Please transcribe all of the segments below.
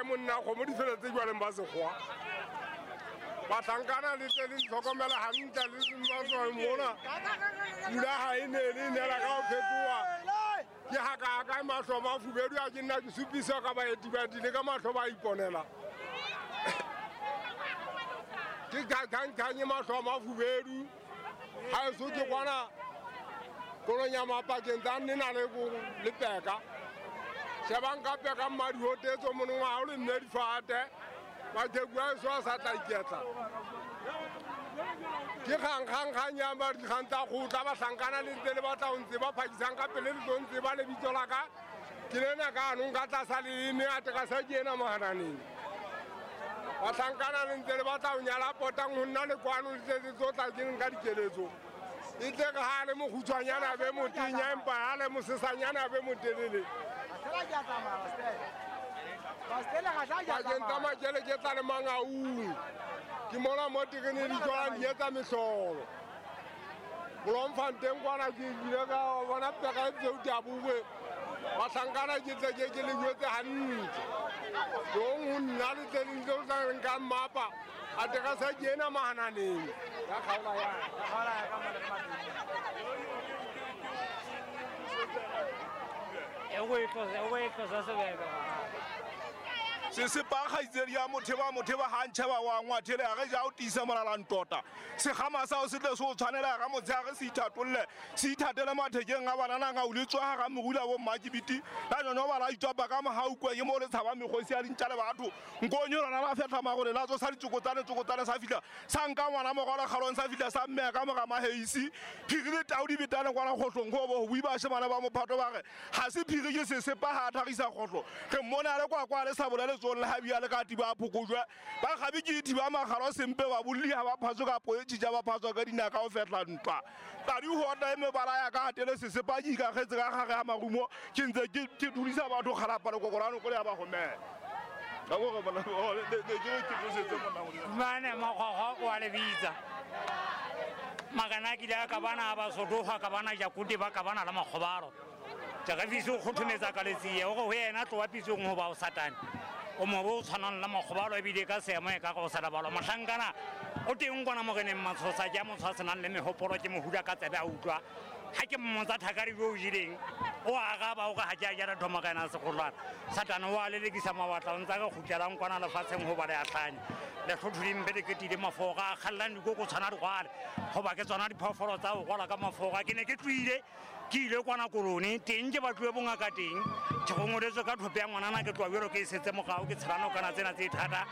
monna kgomo di feletse jwaleng ba sekgowa. Bahlankana le tle le ntlhokomele hantle le masole mona. Pula ha e ne le nela ka ho phetoha. Ke ha ka ka mahlo mafubedu a ke nna ke supisa ka baeti ba le ka mahlo ba iponela. Ke ka kang mahlo mafubedu. Ha eso ke kwana kolonyama pakeng tsa nna le le peka. Shebang ka peka mmadi ho tetso monongwa o le nne difate. Ba ke bua so sa tla iketla. Ke kgang ya ba dikgang tsa kgotla bahlankana le ntse le batla ho ntse ba phakisang ka pele le tlo ntse ba lebitso la ka. Ke lena ka anong ka tlasa leleme a teka sa ke ena mohananeng. Bahlankana le ntse le batla ho nyala potang ho nna le kwano le tle le tlo tla ke nka dikeletso. E tle re ha le mokgutshwanyana be motenya empa ha le mosesanyana be motelele. Pakeng tsa makele ke tla le mangaung. Ke mona mo terene di tswang di etsa mehlolo. Bloemfontein kwana ke ile ka bona peka e tseo di a bue. Bahlankana ke tle ke le jwetse hantle. Tong ho nna le tle le tlo tla nka mmapa. A teka sa ke ena mahananeng. Ya kgaola ya kgaola ya ka mona. E tlosa sebebe. Se se pa kgaitsedi ya motheba ha ntjheba wa ngwathele a re ja o tiisa molalang tota. Sekgama sa o se tle se o tshwanela ga motshehare se ithatolle se ithatele mathekeng a banana ga o le tswa ga morula bo mmakibiti la nyonyo ba la itswapa ka mohaukwe ke mo le tshaba mekgosi ya dintja le batho. Nkonyo lona la fehla magole la tsosa ditsokotsane sa fihla sa nka ngwana mogolo kgalong sa fihla sa mmeya ka mora maheisi. Phiri le tau di betane kwana kgohlong go bo bui bashemane ba mophato ba re ha se phiri ke sesepa ha a thagisa kgohlo. Re mmone a le kwa kwa le sa bola letsong le ha bia le ka tiba phokojwe. Ba gabe ke thiba magalo sempe ba bolli ha ba phatswe ka poe tjija ba phatswa ka dinaka ho fehla ntwa. Tadi ho otla e mebala ya ka hatele sesepa ke ikagetse ka gare ya marumo ke ntse ke dudisa batho kgalapa le kokorano ko le ya ba gomela. Ka gore bona le ke ke tlosetse monna go dira. Mane makgwakgwa o a le bitsa. Magana ke ile ka bana ba sodoga ka bana jakuti ba ka bana la makgobalo. Jaaka fise o kgothometsa ka letsie o go yena tloa pitsong ho ba o satane. O mobo o tshwanang le makgobalo ebile ka seemo e ka go sa balwa. Mohlankana o teng kwana moreneng matshosa ke a motho a senang le mehopolo ke mohula ka tsebe a utlwa. Ha ke mmotsa thakari jo o jeleng o araba o re ha ke a jala thoma ka ena segolwana. Satane o a lelekisa mabatla o ntse a re kgutlelang kwana lefatsheng ho ba le a hlanya. Lehlotho le mpe le ketile mafora a kgallang dikoko tshwana digwale hoba ke tsona diphoofolo tsa ho rwala ka mafora. Ke ne ke tlohile ke ile kwana kolone teng ke batluwe bongaka teng. Ke rongoletswe ka thope ya ngwanana ke tloha jwalo ke e setse morao ke tshela nokana tsena tse thata.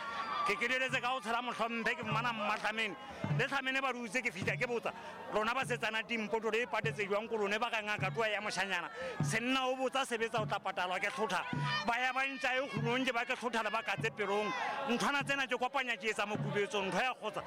Ke keleletse ka ho tshela mohlomphe ke mmana mmatlhamene. Le tlhamene ba dutse ke fihla ke botsa lona ba setsana dimpoto le patetse jwang kolone ba ka ngaka tloha ya moshanyana. Senna o botsa sebetsa o tla patalwa ke hlotha. Ba ya ba ntja e kgunong ke ba ke hlotha le ba ka tse pelong. Nthwana tsena ke kopanya ke etsa mokubetso ntho ya kgotsa.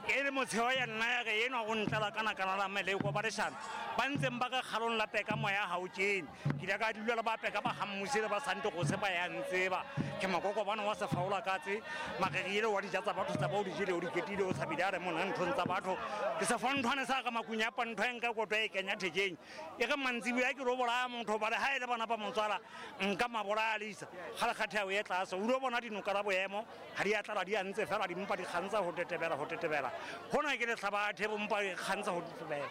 E le motsheo ya nna ya re enwa o ntlela kana kana la meleko ba leshano. Ba ntseng ba ka kgalong la peka moya ha o kene. Ke ile ka dula le ba peka ba hammuse le ba sante go se ba ya ntseba. Ke makoko bana wa sefaola katse marerile wa dija tsa batho tsa ba o di jele o di ketile o tshabile a re mona nthong tsa batho. Ke se fa nthwane sa ka makunya pa ntho e nka koto e kenya thekeng. E re mantsibuya ke ro bolaya motho ba le ha e le bana ba motswala nka mabolaya lisa. Ga le kgathe ya o e tlase o lo bona dinoka la boemo ha di a tlala di a ntse fela di mpa di kgantsa ho tetebela ho tetebela. Hona ke lehlaba the bompa di kgantsa ho tetebela.